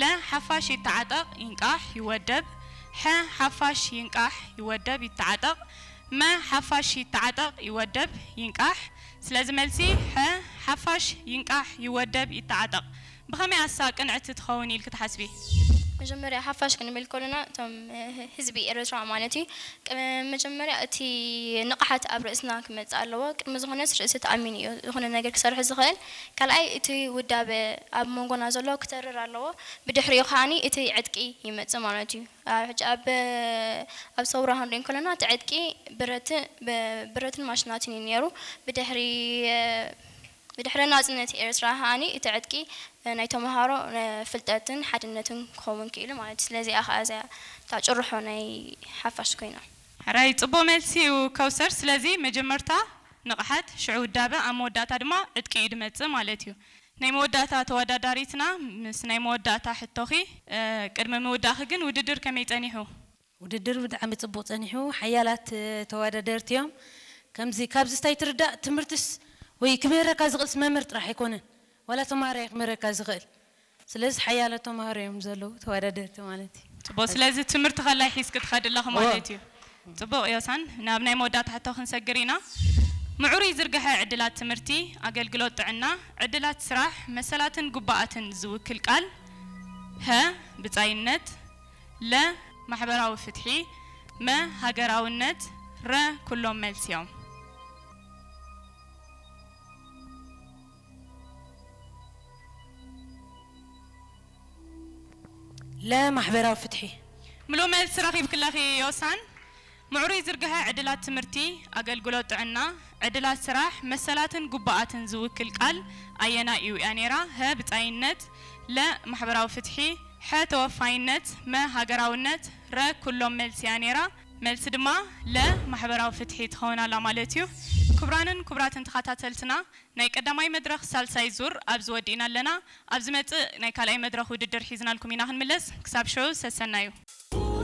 ለ ሓፋሽ ይተዓጠቕ ይንቃሕ ይወደብ። ሐ ሓፋሽ ይንቃሕ ይወደብ ይተዓጠቕ። መ ሓፋሽ ይተዓጠቕ ይወደብ ይንቃሕ። ስለዚ መልሲ ሐ ሓፋሽ ይንቃሕ ይወደብ ይተዓጠቕ። ብኸመይ ኣሳ ቅንዕቲ ትኸውን ኢልኪ ትሓስቢ? መጀመርያ ሓፋሽ ክንብል ከለና እቶም ህዝቢ ኤርትራ ማለት እዩ። መጀመርያ እቲ ንቕሓት ኣብ ርእስና ክመጽእ ኣለዎ። ቅድሚ ዝኾነስ ርእሲ ተኣሚኑ እዩ ዝኾነ ነገር ክሰርሕ ዝኽእል። ካልኣይ እቲ ውዳበ ኣብ መንጎና ዘሎ ክተርር ኣለዎ። ብድሕሪኡ ከዓኒ እቲ ዕጥቂ ይመጽእ ማለት እዩ። ሕጂ ኣብ ኣብ ሰውራ ክንርኢ ከለና እቲ ዕጥቂ ብረትን ማሽናትን እዩ ነይሩ። ብድሕሪ ብድሕሪ ናጽነት ኤርትራ ከዓኒ እቲ ዕጥቂ ናይ ተምሃሮ ፍልጠትን ሓድነትን ክኸውን ክኢሉ ማለት እዩ። ስለዚኣ ከኣ እዚኣ እታ ጭርሖ ናይ ሓፋሽ ኮይና። ሕራይ ጽቡቕ መልሲ እዩ ከውሰር። ስለዚ መጀመርታ ንቕሓት፣ ሽዑ ውዳበ፣ ኣብ መወዳእታ ድማ ዕጥቂ እዩ ድመጽእ ማለት እዩ። ናይ መወዳእታ ተወዳዳሪትና ምስ ናይ መወዳእታ ሕቶኺ። ቅድሚ ምውዳእኺ ግን ውድድር ከመይ ጸኒሑ? ውድድር ብጣዕሚ ጽቡቕ ጸኒሑ። ሓያላት ተወዳደርቲ እዮም። ከምዚ ካብዚ ስታይ ትርዳእ ትምህርትስ ወይ ክምህረካ ዝኽእልስ መምህር ጥራሕ ኣይኮነን፣ ዋላ ተማሃራይ ክምህረካ ዝኽእል። ስለዚ ሓያለ ተማሃሮ እዮም ዘለዉ ተወዳደርቲ ማለት እዩ። ጽቡቕ። ስለዚ ትምህርቲ ከላይ ሒዝኪ ትኸዲ ኣለኺ ማለት እዩ። ጽቡቕ ዮሳን፣ ናብ ናይ መወዳእታ ሕቶ ክንሰግር ኢና። ምዕሩይ ዝርግሐ ዕድላት ትምህርቲ፣ ኣገልግሎት ጥዕና፣ ዕድላት ስራሕ፣ መሰላትን ጉባኣትን ዝውክል ቃል ሀ ብጻይነት፣ ለ ማሕበራዊ ፍትሒ፣ መ ሃገራውነት፣ ረ ኩሎም መልሲ እዮም። ለ ማሕበራዊ ፍትሒ። ምሉእ መልሲ ረኺብኪ ኣለኺ ዮሳን። ምዕሩይ ዝርግሐ ዕድላት ትምህርቲ፣ ኣገልግሎት ጥዕና፣ ዕድላት ስራሕ፣ መሰላትን ጉባኣትን ዝውክል ቃል ኣየናይ እዩ? እያ ነይራ። ሀ ብጻይነት፣ ለ ማሕበራዊ ፍትሒ፣ ሐ ተወፋይነት፣ መ ሃገራውነት፣ ረ ኩሎም መልሲ እያ ነይራ። መልሲ ድማ ለ ማሕበራዊ ፍትሒ ትኸውን ኣላ ማለት እዩ። ክቡራንን ክቡራትን ተኸታተልትና፣ ናይ ቀዳማይ መድረኽ ሳልሳይ ዙር ኣብዚ ወዲእና ኣለና። ኣብ ዝመጽእ ናይ ካልኣይ መድረኽ ውድድር ሒዝናልኩም ኢና ክንምለስ። ክሳብ ሽዑ ሰሰናዩ።